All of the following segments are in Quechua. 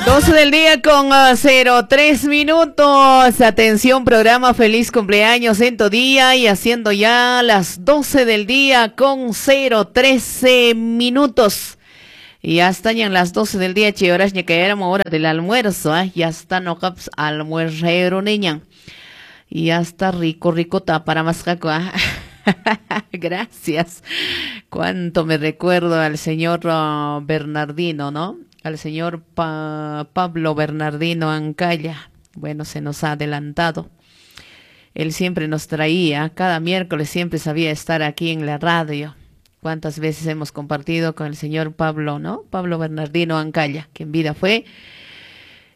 12 del día con 03 minutos. Atención, programa Feliz Cumpleaños en tu día y haciendo ya las 12 del día con 013 minutos. Y ya están en las 12 del día, che, horas que éramos hora del almuerzo, ¿eh? Ya está no caps almuerzo, niña. Y ya está rico, rico, para más jaco, ¿eh? Gracias. Cuánto me recuerdo al señor Bernardino, ¿no? Al señor Pablo Bernardino Ancalla. Bueno, se nos ha adelantado. Él siempre nos traía, cada miércoles siempre sabía estar aquí en la radio. Cuántas veces hemos compartido con el señor Pablo, ¿no? Pablo Bernardino Ancalla, que en vida fue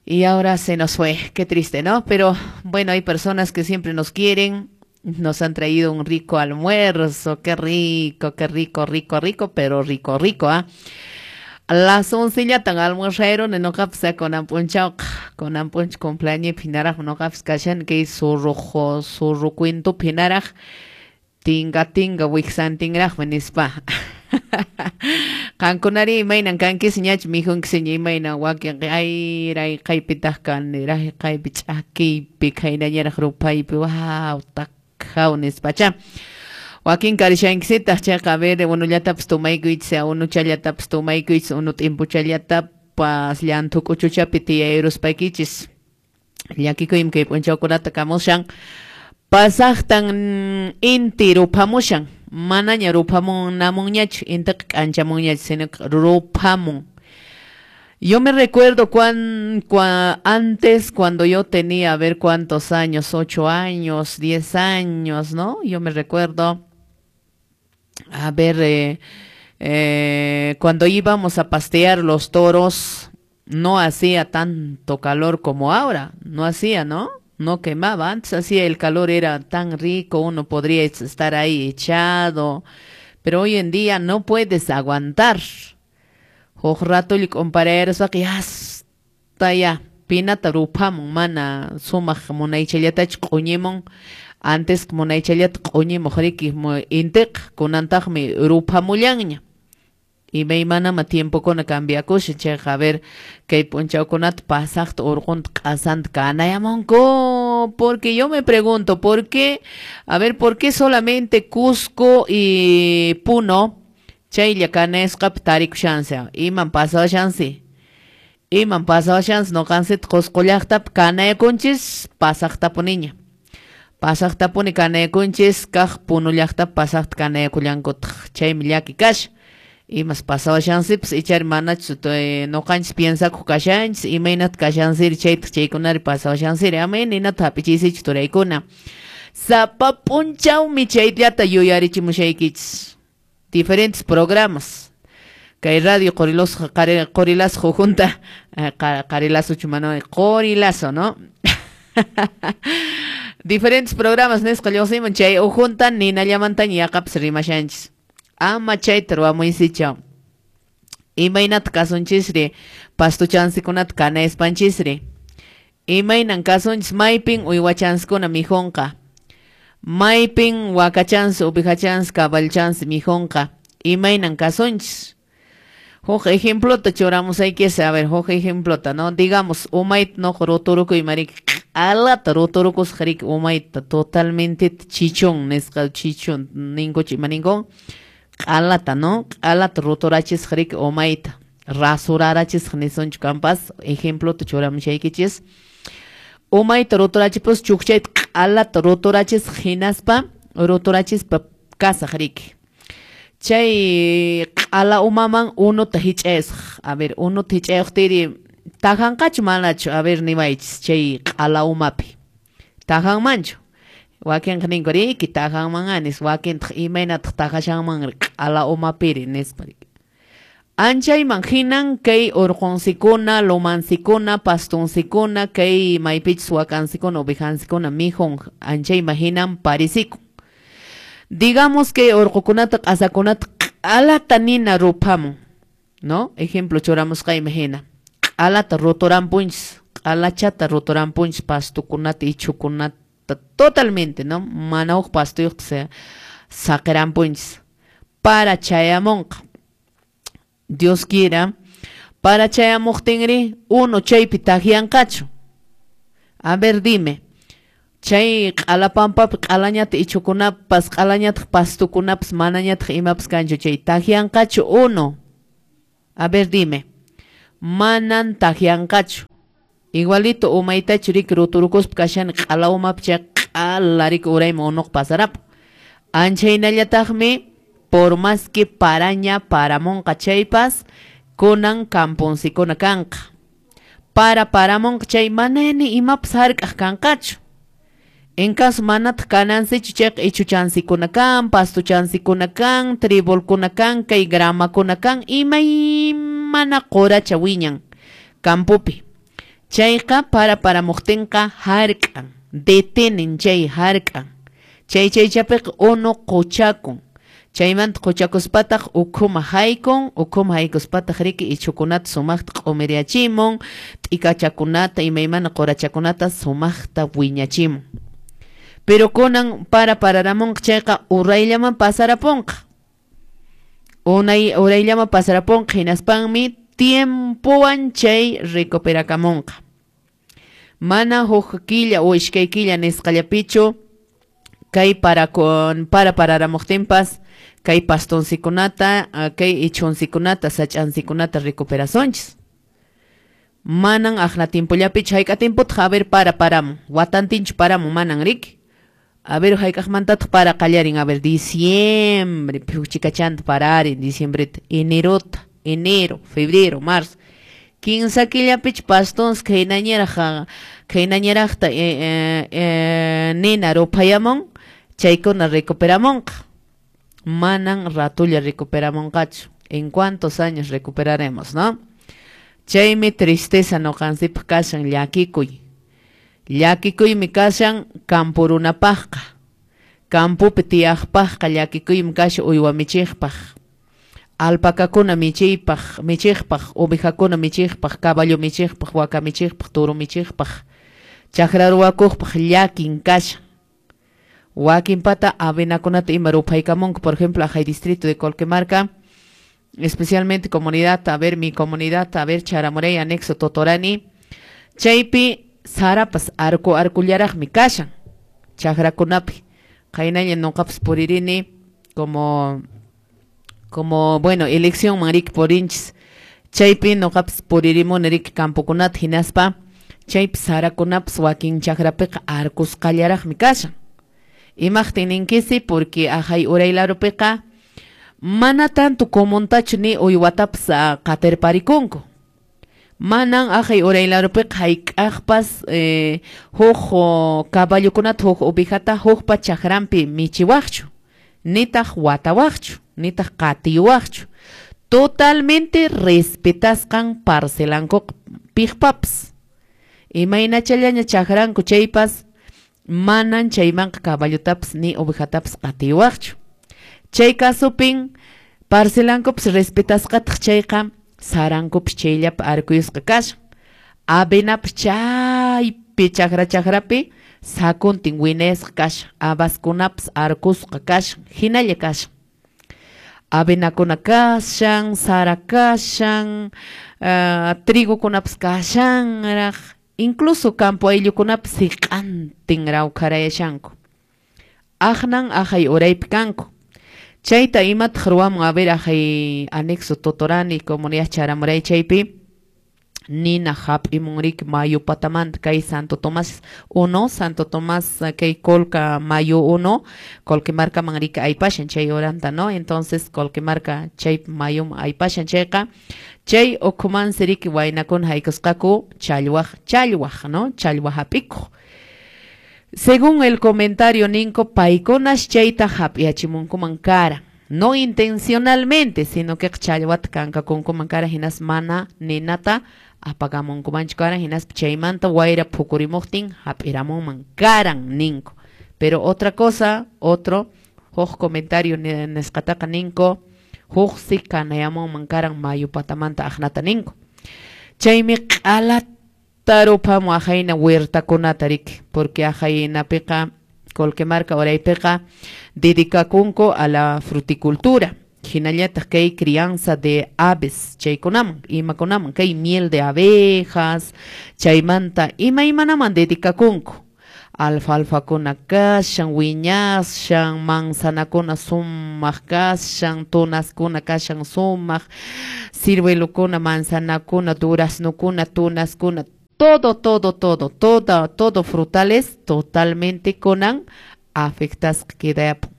y ahora se nos fue. Qué triste, ¿no? Pero bueno, hay personas que siempre nos quieren, nos han traído un rico almuerzo, qué rico, rico, rico, pero rico, rico, ¿ah? Las 11 tan almuerzo no kapsa con ampunchao con ampunch cumpleaños pinaraj no kaps kashan que surrujo surru cuento pinaraj tinga tinga wiksantinraj nispa. Qankunari imaynan kankis ñach mijunkisiña imaynan wakin ayray kaypitaq kaniraj kaypi ch'akiypi khaynañaraq rupaypi waw takhaw nispacha. Wakin karishankisitaq chayqa a ver unullatapas tumaykuychis unuchallatapas tumaykuychis unu t'impuchallatapas llanthu k'uchuchapi tiyayruspaykichis llakikuymi kay p'unchawkunata kamushan pasaqtan inti ruphamushan manaña ruphamunamunñachu intiqa k'anchamunñachu sino ruphamun. Yo me recuerdo antes, cuando yo tenía, a ver cuántos años, 8 años, 10 años, ¿no? Yo me recuerdo, a ver, cuando íbamos a pastear los toros, no hacía tanto calor como ahora, no hacía, ¿no? No quemaba, antes hacía el calor, era tan rico, uno podría estar ahí echado, pero hoy en día no puedes aguantar. Huk rato compararuspaqa hasta ya pinata ruphamun mana sumaq munaychallatachu q'uñimun antes munaychallata q'uñimuq riki intiqa kunantaqmi ruphamullanña. Imaymanama tiempokuna cambiakushan chayqa a ver kay p'unchawkunata pasaqta urqunta q'asanta kanayamunku porque yo me pregunto por qué, a ver, por qué solamente Cusco y Puno chaylla kanasqapi tarikushansi iman pasawashansi iman pasawashansi ñuqansita Qusqu llaqtapi kanayakunchis pasaqtapuniña pasaqtapuni kanayakunchis kaq Puno llaqtapi pasaqta kanayakullankutaq chaymi llaki kashan imas pasawashansipas ichari manachu ñuqanchis piensakuq kashanchis imaynata kashansiri chaytaq chaykunari pasawashansiri ama ninata hap'ichiysichu turaykuna sapa p'unchawmi chayllata yuyarichimushaykichis diferentes programas kay radio Qorilazo Qorilazo junta Qarilazochu mana Qorilazo, ¿no? Diferentes programas nisqa lluqsimun chay ukhunta ninallamantaña yaqapas rimashanchis ama chayta ruwamuysichu imaynata kasunchisri pastuchansikunata kanayaspanchisri imaynan kasunchis maypin uywachansikuna mikhunqa maypin wakachansi ovejachansi cabalchansi mikhunqa imaynan kasunchis huk ejemplota churamusaykichis a ver huk ejemplota, ¿no? Digamos umayta nuqa ruturukuy mariki q'alata ruturukusqa riki umayta totalmente chichón nisqa chichón ninkuchu ima ninkun q'alata, ¿no? Q'alata ruturachisqa riki umayta rasurarachisqa nisunchu kanpas ejemplota churamushaykichis umayta ruturachipus chukchayta q'alata ruturachisqa hinaspa ruturachispa kasaq riki chay q'ala umaman unuta hich'ayasaq a ver unuta hich'ayuqtiri tajanqachu manachu a ver niwaychis chay q'ala umapi tajanmanchu wakinqa ninku riki tajanman nispa wakintaq imaynataq tajashanmanri q'ala umapiri nispa anchayman hinan kay urqunsikuna lumansikuna pastunsikuna kay maypichus wakansikuna ovejansikuna mikhun anchayman hinan parisikun digamos que urqukunata q'asakunata q'alata nina ruphamun, ¿no? Ejemplo churamusqayman hina q'alata ruturampunchis q'alachata ruturampunchis pastukunata ichhukunata totalmente, ¿no? Mana huk pastuyuqta saqirampunchis para chayamunqa Dios quiera Para chayamuqtinri unu chaypi takyanqachu. A ver, dime. Chay q'alapampapi q'alañata ichhukunapas, q'alañataq pastukunapas, manañataq imapas kanchu chay takyanqachu unu. A ver, dime. Manan takyanqachu. Igualito umaytachu riki ruturukuspa kashani q'ala umapi chay q'ala riki urayman unuqa pasarapun. Anchaynallataqmi por más que paraña paramunqa chaypas kunan kampunsikuna kanqa. Para paramunqa chay mana ni imapas hark'aq kanqachu. En caso manataq kanansichu chayqa ichhuchansikuna kan, pastuchansikuna kan, tribolkuna kan, kay gramakuna kan, imaymana quracha wiñan campopi. Chayqa para paramuqtinqa hark'an, detenen chay hark'an. Chay chaychapiqa unu quchakun. Chaymanta quchakuspataq ukhuma haykun, ukhuma haykuspataq riki ichhukunata sumaqta q'umiriachimun, t'ikachakunata imaymana qurachakunata sumaqta wiñachimun. Pero kunan para pararamunqa chayqa urayllaman pasarapunqa. Unay urayllaman pasarapunqa hinaspanmi tiempowan chay recuperakamunqa. Mana huk killa o iskay killa nisqallapichu kay para con para pararamuqtinpas kay pastonsikunata, kay ichunsikunata, sach'ansikunata recuperasunchis. Manan aqna tiempollapichu hayk'a tiempotaq a ver para paramun, watantinchu paramun manan riki. A ver hayk'aqmantataq para qallarin, a ver diciembre, phuchikachanta pararin diciembreta, enerota, enero, febrero, marzo. Kinsa killapichu pastons khaynañaraq khaynañaraqta nina ruphayamun, chaykuna recuperamunqa. Manan ratulla recuperamunqachu. ¿En cuántos años recuperaremos, no? Chaymi tristeza nuqansipaq kashan llakikuy. Llakikuymi kashan kampurunapaqqa. Kampupi tiyaqpaqqa llakikuymi kashan uywa michiqpaq. Alpacakuna michiypaq, michiqpaq, ovejakuna michiqpaq, caballo michiqpaq, waka michiqpaq, toro michiqpaq. Chakra ruwakuqpaq llakin kashan. Wakinpata avenakunata ima ruphaykamunku, por ejemplo, ajay distrito de Colquemarca, especialmente comunidad, a ver, mi comunidad, a ver, Charamurey, anexo Totorani, chaypi sarapas arku arkullaraqmi kashan, chakrakunapi. Qaynalla nuqapas puririni como bueno, elección manrik purinchis. Chaypi nuqapas puririmuni riki campokunata hinaspa chaypi sarakunapas wakin chakrapiqa arkusqallaraqmi kashan. Imaqtin ninkisi porque ajay uraylarupiqa mana tanto comuntachu ni uywatapas qatirparikunku. Manan ajay uraylarupiqa hayk'aqpas huk caballokunata huk ovejata hukpa chakranpi michiwaqchu, nitaq watawaqchu, nitaq qatiwaqchu. Totalmente respetasqan parcelankuqa piqpapas. Imaynachallaña chakranku chaypas manan chaymanqa caballotapas ni ovejatapas qatiwaqchu. Chay kasupin parcelankupas respetasqataq chayqa sarankupas chayllapi arkuyusqa kashan. Avenapas chaypi chakra chakrapi sakuntin winasqa kashan, habaskunapas arkusqa kashan, hinalla kashan. Avenakuna kashan, sara kashan, trigokunapas kashanraq, incluso campo ayllukunapas siq'antin rawkharayashanku. Aqnan ajay uraypi kanku. Chayta imataq ruwamun, a ver, ajay anexo Totorani, comunidad Charamuray chaypi, nina hap'imun riki mayu patamanta kay Santo Tomás 1, Santo Tomás kay Colca mayu 1, Colquemarcaman riki aypashan chay uranta, ¿no? Entonces Colquemarca chay mayum aypashan chayqa, chay ukhumansi riki waynakuna haykusqaku challwaq, challwaq, ¿no? Challwa hap'ikuq. Según el comentario ninko, paykunas chayta hap'iachimunkuman kara. No intencionalmente, sino que challwata kankakunkuman kara hinas mana ninata apagamunkumanchu karan hinas chaymanta wayra phukurimuqtin hap'iramunman karan ninko. Pero otra cosa, otro huk comentario nisqataqa ninko, huksi kanayamunman karan mayu patamanta aqnata ninko. Chaymi q'alata ruphamu ajayna huertakunata riki, porque ajaynapiqa Colquemarca uraypiqa dedicakunku a la fruticultura. Hinallataq kay crianza de aves chaykunaman, imakunaman, kay miel de abejas, chaymanta imaymanaman dedicakunku. Alfalfakuna kashan, wiñashan, manzanakuna sumaq kashan, tunaskuna kashan sumaq, ciruelokuna, manzanakuna, duraznokuna, tunaskuna, todo, todo, todo, todo, todo frutales totalmente kunan afectasqa quedayapun.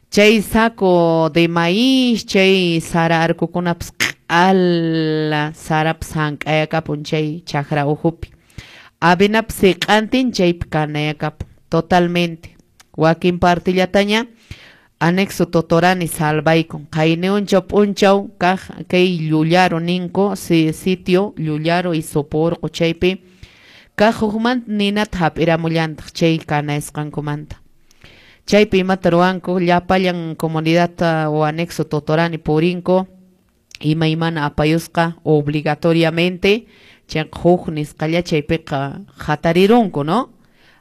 Chay saco de maíz, chay sara arkukunapas q'ala sarapas hank'ayakapun chay chakra uhupi. Avenapas siq'antin chaypi kanayakapun totalmente. Wakin partillataña anexo Totorani salvaykun. Qayniunchaw p'unchaw kaq kay Llullaro ninku, sitio Llullaro y Soporqo chaypi kaq hukmanta ninata hap'iramullantaq chay kanayasqankumanta. Chaypi imata ruwanku llapallan comunidad o anexo Totorani purinku imaymana apayusqa obligatoriamente chayqa huk nisqalla chaypiqa hatarirunku, ¿no?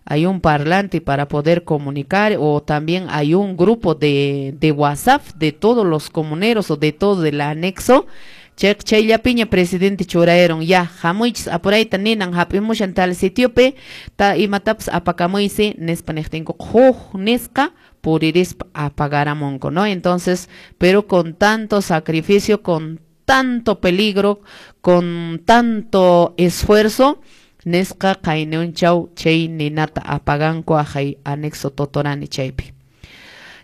Hay un parlante para poder comunicar o también hay un grupo de WhatsApp de todos los comuneros o de todo el anexo. Chayqa chayllapiña presidente churayeron ya hamuychis apurayta ninan hap'imushan tal sitiopi ta imatapas apakamuysi nispa niqtinku huk nisqa puririspa apagaramunku, ¿no? Entonces, pero con tanto sacrificio, con tanto peligro, con tanto esfuerzo, nisqa qayniunchaw chay ninata apaganku ahay anexo Totorani chaypi.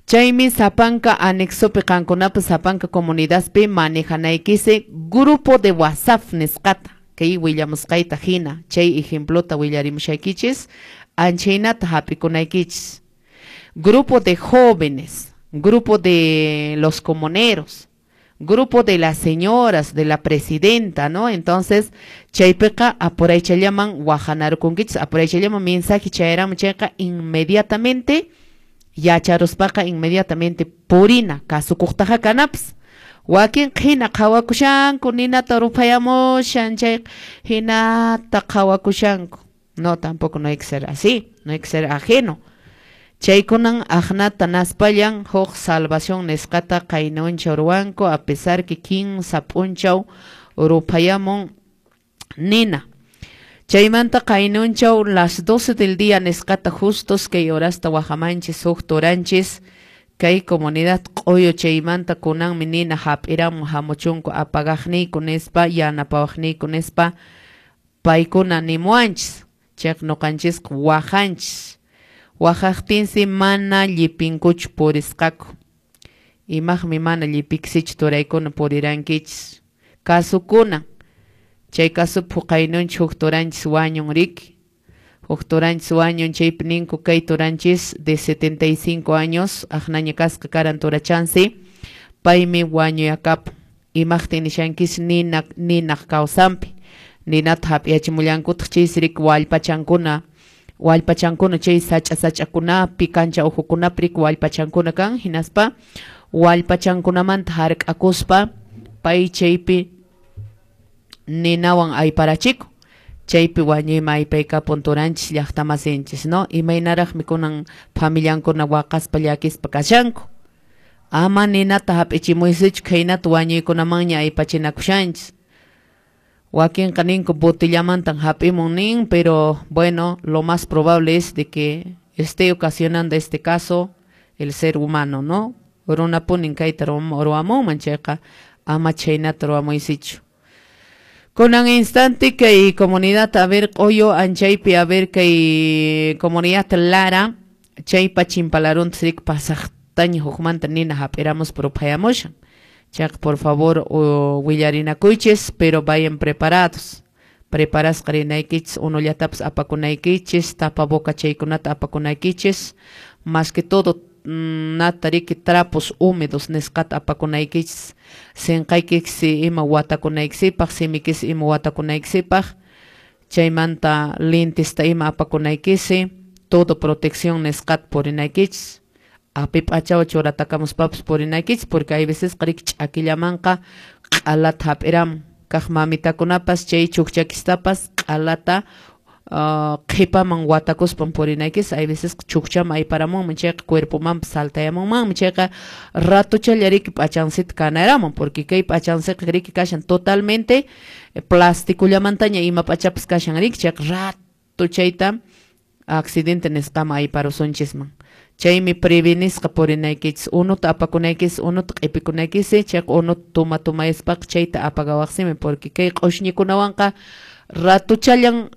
Chaymi sapanka anexopi qankunapas sapanka comunidadpi manejanaykisi grupo de WhatsApp nisqata kay willamusqayta hina chay ejemplota willarimushaykichis anchaynata hap'ikunaykichis. Grupo de jóvenes, grupo de los comuneros, grupo de las señoras, de la presidenta, ¿no? Entonces, chaypiqa apuraychallaman wajanarkunkichis, apuraychallaman mensaje chayaramun chayqa inmediatamente yacharuspaqa inmediatamente purina kasukuqtaqa kanapas. Wakin hina qhawakushanku ninata ruphayamushan chay hinata qhawakushanku. No, tampoco no hay que ser así, no hay que ser ajeno. Chaykunan aqnata naspallan huk salvación nisqata qaynunchaw ruwanku a pesar que kinsa p'unchaw ruphayamun nina. Chaymanta qaynunchaw las 12 del día nisqata justos kay horasta wajamanchis huk turanchis kay comunidad q'uyu chaymanta kunanmi nina hap'iramun hamuchunku apagaqniyku nispa yanapawaqniyku nispa paykuna nimuwanchis chayqa nuqanchisqa wajanchis. Wajaqtinsi mana llipinkuchu purisqaku. Imaqmi mana llipiksichu turaykuna purirankichis. Kasukuna. Chay kasupi huqaynunchis huk turanchis wañun riki. Huk turanchis wañun chaypi ninku kay turanchis de 75 años aqnaña kasqa karan turachansi paymi wañuyakapun. Imaqtin nishankis ninaq kawsanpi. Ninata hap'iyachimullankutaq chaysi riki wallpachankuna. Wallpachankuna chay sach'a sach'akunapi kancha uhukunapi riki wallpachankuna kan hinaspa wallpachankunamanta hark'akuspa pay chaypi ninawan ayparachiku chaypi wañuyman aypaykapun turanchis llaqtamasinchis, ¿no? Imaynaraqmi kunan familiankuna waqaspa llakispa kashanku. Ama ninata hap'ichimuysichu khaynata wañuykunamanña aypachinakushanchis. Wakinqa ninku botellamantan hap'imun nin, pero bueno, lo más probable es de que esté ocasionando este caso el ser humano, ¿no? Runapunin kayta ruwamunman chayqa ama chaynata ruwamuysichu. Kunan instante kay comunidad a ver q'uyu anchaypi a ver kay comunidad Lara chaypa chimpalarunta riki pasaqtaña hukmanta nina hap'iramuspa ruphayamushan. Chayqa por favor willarinakuychis, pero vayan preparados. Preparasqa rinaykichis, unullatapas apakunaykichis, tapaboca chaykunata apakunaykichis, más que todo nata riki trapos húmedos nisqata apakunaykichis, sinqaykiksi ima watakunaykisipaq, simikisi ima watakunaykisipaq, chaymanta lentesta ima apakunaykisi, todo protección nisqata purinaykichis. Api p'achawan churatakamuspapas purinaykichis, porque hay veces riki ch'akillamanqa q'alata hap'iramun. Kaq mamitakunapas chay chukchakistapas q'alata Qhipaman watakuspan purinaykis. Hay veces chukchaman ayparamunman, chayqa cuerpomanpas saltayamunmanmi. Chayqa ratuchalla riki p'achansita kanaramun, porque kay p'achansiqa riki kashan totalmente plastikullamantaña ima p'achapas kashan riki. Chayqa rato chayta accidente nisqaman ayparusunchisman. Chaymi prevenisqa purinaykichis, unuta apakunaykis, unuta q'ipikunaykis. Chayqa unuta tuma tumayaspaqa chayta apagawaqsimi, porque kay q'ushñikunawanqa ratuchallan.